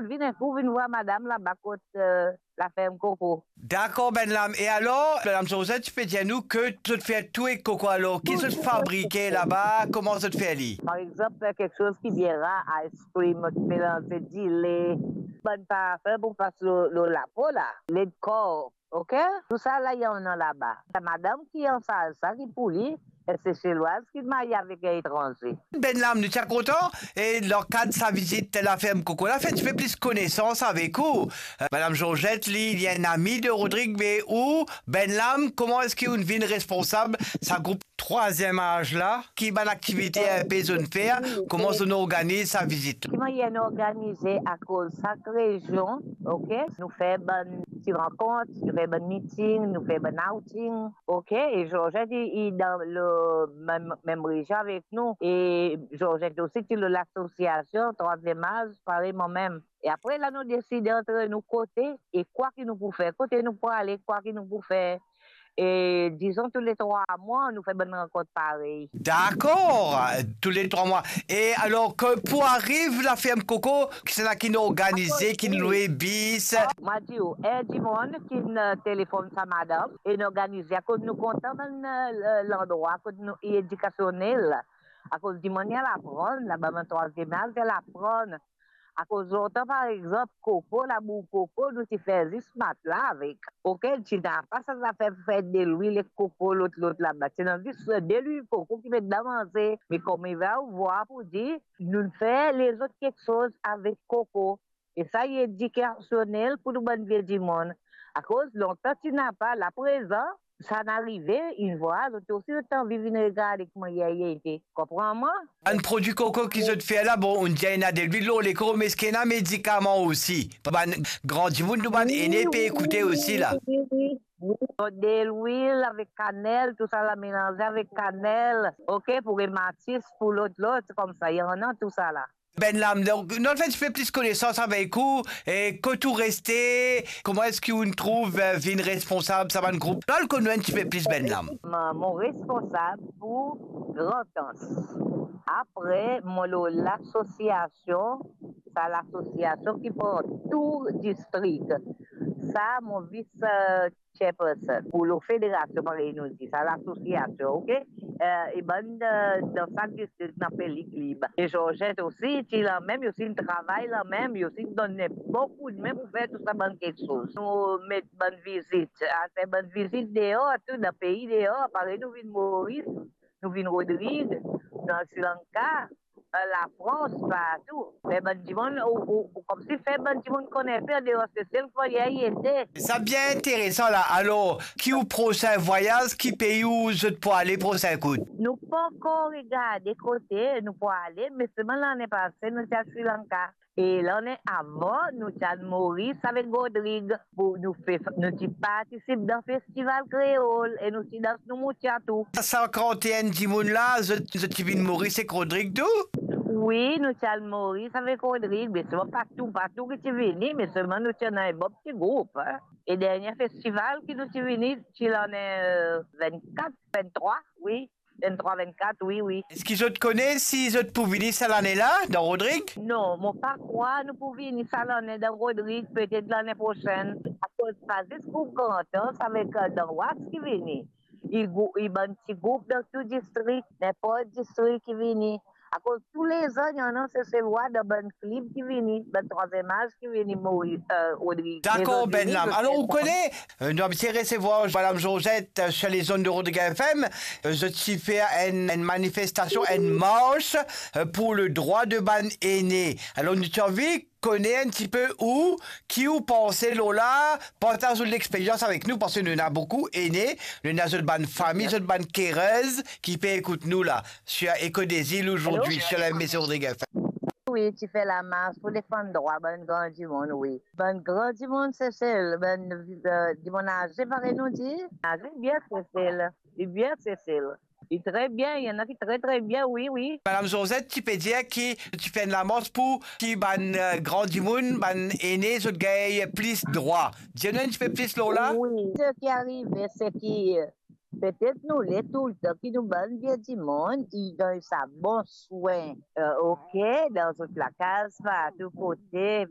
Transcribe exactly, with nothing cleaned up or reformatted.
Vinn enn kou, vinn vwar madam laba kot, eh, laferm Koko. Dakor, Bennlam. E alor, Madam Georgette, ti pe dir nou ke zot fer tou ek koko. Alor, ki zot fabrike laba? Kouma zot fer li? Par exanp, fer kiksoz ki bien rar, ice cream, ki melanze dile, bann parfin pou pas lor, lor lapo la, ledkor, ok? Tou sa la, li annan laba. Sa madam ki ansarz sa, ki pou li, enn Seselwaz ki marye avek enn etranze. Bennlam, nou ti a kontan, e dan kad sa vizit laferm Koko la, fer enn tipe plis konesans avek ou. Eh, Madam Georgette, li, li enn ami de Rodrig, me ou, Bennlam, kouma eski ou'nn vinn responsab sa group Trwaziem Az la? Ki bann aktivite inpe zot fer? Kouma zot organiz sa vizit? Ki mannyer nou organize? Akoz sak rezion, ok, nou fer bann ti rankont, nou fer bann meeting, nou fer bann outing, ok, e Georgette, li, li dan le mem, mem rezion avek nou, e Georgette osi ti lor lasosiasion Trwaziem Az, parey mwa mem. E apre la, nou deside antre nou kote e kwa ki nou pou fer, kote nou pou ale, kwa ki nou pou fer. E dizon, tou le trwa mwa, nou fer bann rankont parey. Dakor, tou le trwa mwa. E alor, ke pou ariv laferm Koko, kisannla ki'nn organize, ki'nn lwe bis? Mwa dir ou, enn dimoun ki'nn, eh, telefonn sa madam, e nou organize, akoz nou kontan bann, eh, landrwa kot nou, li edikasionel. Akoz dimoun, li al aprann, laba bann Trwaziem Az, li al aprann. Akoz lontan, par exanp, koko, labour koko, nou ti fer zis matla avek. Ok, ti napa sa zafer fer delwil ek koko, lot, lot laba. Ti ena zis delwil koko ki met dan manze. Me kouma ou vwar pou dir, nou fer lezot kiksoz avek koko. E sa, li edikasionel pou nou bann vie dimoun. Akoz lontan ti napa, la prezan, sa inn arive, inn vwar, zot osi zot anvi vinn regarde kouma li ete. Konpran mwa? Bann prodwi koko ki zot fer la, bon, ou'nn dir ena delwil lor lekor, me eski ena medikaman osi? Bann gran dimoun, nou bann ene pe ekoute osi la. Wi, wi, wi. Delwil avek kanel, tou sa la melanze avek kanel, ok, pou rematis, pou lot, lot, koumsa, li annan tou sa la. Bennlam, donk, nou al fer enn tipe plis konesans avek ou, e kot ou reste, kouma eski ou'nn trouv, eh, vinn responsab sa bann group? Nou al konn ou enn tipe plis, Bennlam. Mo, mo responsab pou Grandans. Apre, mo lor lasosiasion, sa lasosiasion ki pran tou distrik. Sa, mo vis, eh, chairperson pou lor federasion, parey nou dir, sa lasosiasion, ok? Eh, e bann, eh, dan sak distrik, nou apel li klib. E Georgette osi, ti lamem, li osi inn travay lamem, li osi inn donn enn bon koudme pou fer tou sa bann kiksoz. Nou met bann vizit, al fer bann vizit deor, tou dan pei deor, parey nou vinn Moris, nou vinn Rodrig, nou al Sri Lanka, eh, Lafrans, partou. Fer bann dimoun, ou, ou, ou koumsi fer bann dimoun konn enpe andeor Sesel, kouma li ete. Sa bien interesan la. Alor, ki ou prosin vwayaz, ki pei ou zot pou ale prosin kout? Nou pankor regarde kote nou pou ale, me selman lane pase, nou ti al Sri Lanka. E lane avan, nou ti al Moris avek Rodrig. Pou nou fe, nou ti partisip dan festival kreol e nou ti dans nou moutya tou. Sa sinkant-enn dimoun la, zot, zot ti vinn Moris ek Rodrig tou? Wi, nou ti al Moris avek Rodrig, me selman pa tou, pa tou ki ti vini, me selman nou ti ena enn bon ti group, en. E dernie festival ki nou ti vini, ti lane, eh, vennkat, venntrwa, wi. Venntrwa, vennkat, wi, wi. Eski zot kone si zot pou vini sa lane la, dan Rodrig? Non, mo pa krwar nou pou vini sa lane dan Rodrig, petet lane prosenn. Akoz pa zis group Grandans avek, eh, Dan Was ki vini. Li grou-, li bann ti group dan tou distrik, ninport distrik ki vini. Akoz toulezan, ena Seselwa dan bann klib ki vini, bann Trwaziem Az ki vini, Moris, eh, Rodrig. Dakor, Bennlam. Alor, ou kone, eh, nou abitie resevwar Madam Georgette, eh, sur les ondes de Rodrigues F M. Eh, zot ti fer enn, enn manifestasion, enn mars, eh, pour le droit de bann ene. Alor, nou ti anvi kone enn tipe ou, ki ou panse lor la, partaz ou lexperyans avek nou, parski nou ena boukou ene, nou ena zot bann fami, zot bann kerez ki pe ekout nou la, sur Echo des Îles aujourd'hui, sur la M B C Rodrigues F M. Wi, ti fer lamars pou defann drwa bann gran dimoun, wi. Bann gran dimoun Sesel, bann, eh, dimoun aze, parey nou dir. Aze, bien Sesel. Li bien Sesel. Li tre bien, ena ki tre, tre bien, wi, wi. Madam Georgette ti pe dir ki ti fer enn lamars pou ki bann, eh, gran dimoun, bann ene, zot gagn plis drwa. Dir nou enn tipe plis lor la? Wi, seki arive, seki, eh, petet nou le toultan ki nou bann vie dimoun, li gagn sa bon swin, eh, ok, dan zot lakaz, partou kote,